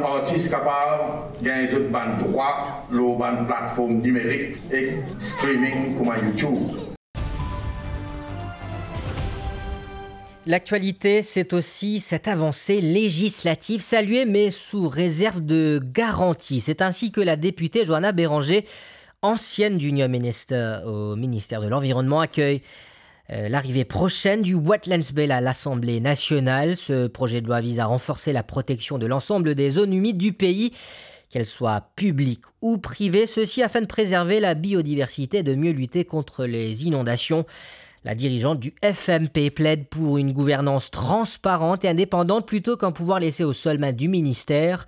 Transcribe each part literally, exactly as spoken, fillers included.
Artis kapav gagn zot bann drwa lor bann platform nimerik ek streaming kouma YouTube. L'actualité, c'est aussi cette avancée législative saluée, mais sous réserve de garanties. C'est ainsi que la députée Johanna Béranger, ancienne junior minister au ministère de l'Environnement, accueille euh, l'arrivée prochaine du Wetlands Bill à l'Assemblée nationale. Ce projet de loi vise à renforcer la protection de l'ensemble des zones humides du pays, qu'elles soient publiques ou privées, ceci afin de préserver la biodiversité et de mieux lutter contre les inondations. La dirigeante du F M P plaide pour une gouvernance transparente et indépendante plutôt qu'un pouvoir laissé aux seules mains du ministère.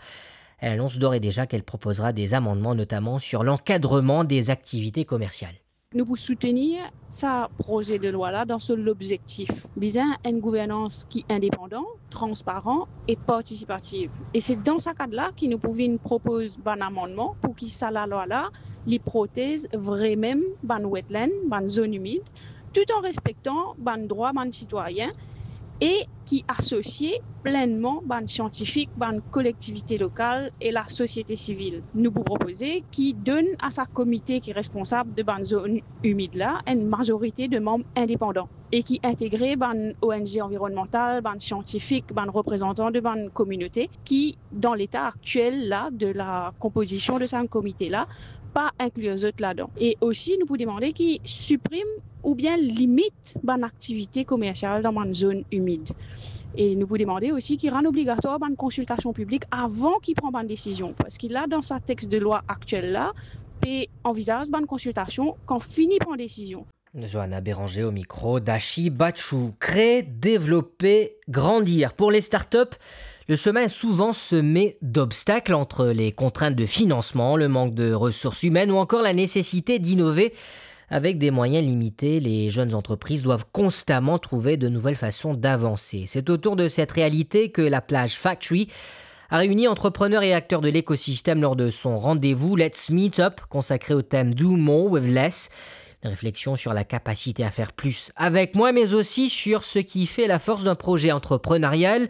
Elle annonce d'ores et déjà qu'elle proposera des amendements, notamment sur l'encadrement des activités commerciales. Nou pou soutenir sa proze de lwa la dan so lobzektif. Bizin enn gouvernans ki indepandan, transparan e partisipativ. E se dan sa kad la ki nou pou vinn propoz bann amannman pou ki sa lalwa la, li protez vremem bann wetland, bann zone imid, tout an respektan bann drwa bann sitwayin e ki asosie plennman bann siantifik, bann kolektivite lokal e lasosiete sivil. Nou pou propoze ki donn a sa komite ki responsab de bann zone imid la enn mazorite de manm indepandan e ki integre bann O N G anvironnmantal, bann siantifik, bann reprezantan de bann kominote ki, dan leta aktiel la de la konpozision de sa komite la, pa inklir zot ladan. E osi, nou pou demande ki siprim oubien limit bann aktivite komersial dan bann zone imid. E nou pou demande osi ki rann obligatwar bann konsiltasion piblik avan ki pran bann desizion, parski la, dan sa text de lwa aktiel la, pe anvizaz bann konsiltasion kan fini pran desizion. Johanna Béranger au micro d'Ashi Bachou. Créer, développer, grandir. Pour les startups, le chemin est souvent semé d'obstacles entre les contraintes de financement, le manque de ressources humaines ou encore la nécessité d'innover. Avec des moyens limités, les jeunes entreprises doivent constamment trouver de nouvelles façons d'avancer. C'est autour de cette réalité que la Plage Factory a réuni entrepreneurs et acteurs de l'écosystème lors de son rendez-vous Let's Meet Up, consacré au thème Do More with Less. Une réflexion sur la capacité à faire plus avec moins, mais aussi sur ce qui fait la force d'un projet entrepreneurial.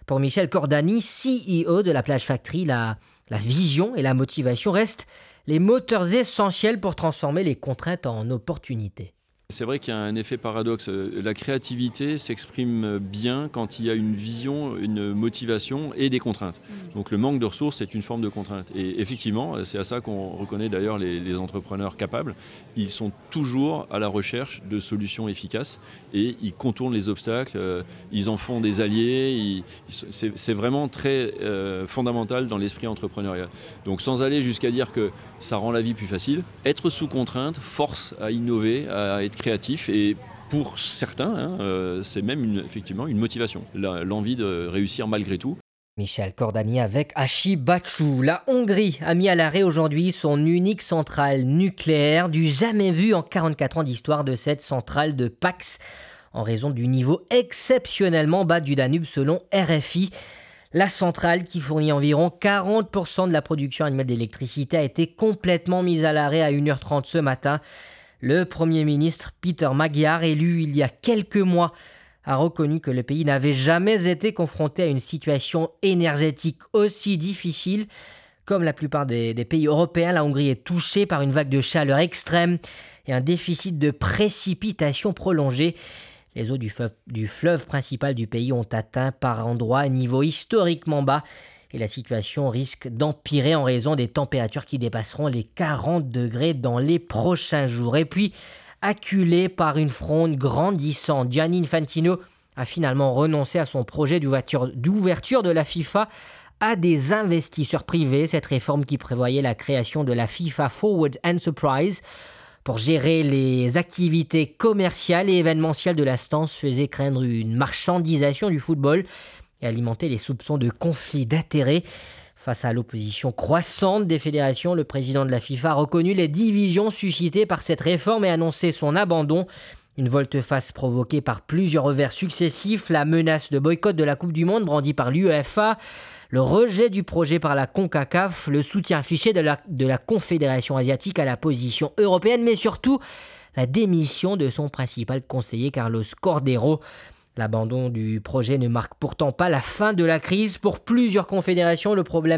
Pour Michel Cordani, C E O de la Plage Factory, la, la vision et la motivation restent les moteurs essentiels pour transformer les contraintes en opportunités. C'est vrai qu'il y a un effet paradoxe. La créativité s'exprime bien quand il y a une vision, une motivation et des contraintes. Donc le manque de ressources est une forme de contrainte. Et effectivement, c'est à ça qu'on reconnaît d'ailleurs les, les entrepreneurs capables. Ils sont toujours à la recherche de solutions efficaces et ils contournent les obstacles, euh, ils en font des alliés. Ils, ils- c'est, c'est vraiment très euh, fondamental dans l'esprit entrepreneurial. Donc sans aller jusqu'à dire que ça rend la vie plus facile, être sous contrainte force à innover, à être créatif et pour certains, hein, euh, c'est même une, effectivement une motivation, la- l'envie de réussir malgré tout. Michel Cordani avec Ashi Bachou. La Hongrie a mis à l'arrêt aujourd'hui son unique centrale nucléaire, du jamais vu en quarante-quatre ans d'histoire de cette centrale de Paks, en raison du niveau exceptionnellement bas du Danube, selon R F I. La centrale, qui fournit environ quarante pour cent de la production annuelle d'électricité, a été complètement mise à l'arrêt à une heure trente ce matin. Le Premier ministre Peter Magyar, élu il y a quelques mois, a reconnu que le pays n'avait jamais été confronté à une situation énergétique aussi difficile. Comme la plupart des, des pays européens, la Hongrie est touchée par une vague de chaleur extrême et un déficit de précipitations prolongé. Les eaux du fleuve, du fleuve principal du pays ont atteint par endroits un niveau historiquement bas et la situation risque d'empirer en raison des températures qui dépasseront les quarante degrés dans les prochains jours. Et puis, acculé par une fronde grandissante, Gianni Infantino a finalement renoncé à son projet d'ouverture, d'ouverture de la FIFA à des investisseurs privés. Cette réforme, qui prévoyait la création de la FIFA Forward Enterprise pour gérer les activités commerciales et événementielles de l'instance, faisait craindre une marchandisation du football et alimenter les soupçons de conflit d'intérêts. Face à l'opposition croissante des fédérations, le président de la FIFA a reconnu les divisions suscitées par cette réforme et annoncé son abandon. Une volte-face provoquée par plusieurs revers successifs, la menace de boycott de la Coupe du Monde brandie par l'UEFA, le rejet du projet par la CONCACAF, le soutien affiché de la, de la Confédération asiatique à la position européenne, mais surtout la démission de son principal conseiller Carlos Cordeiro. L'abandon du projet ne marque pourtant pas la fin de la crise. Pour plusieurs confédérations, le problème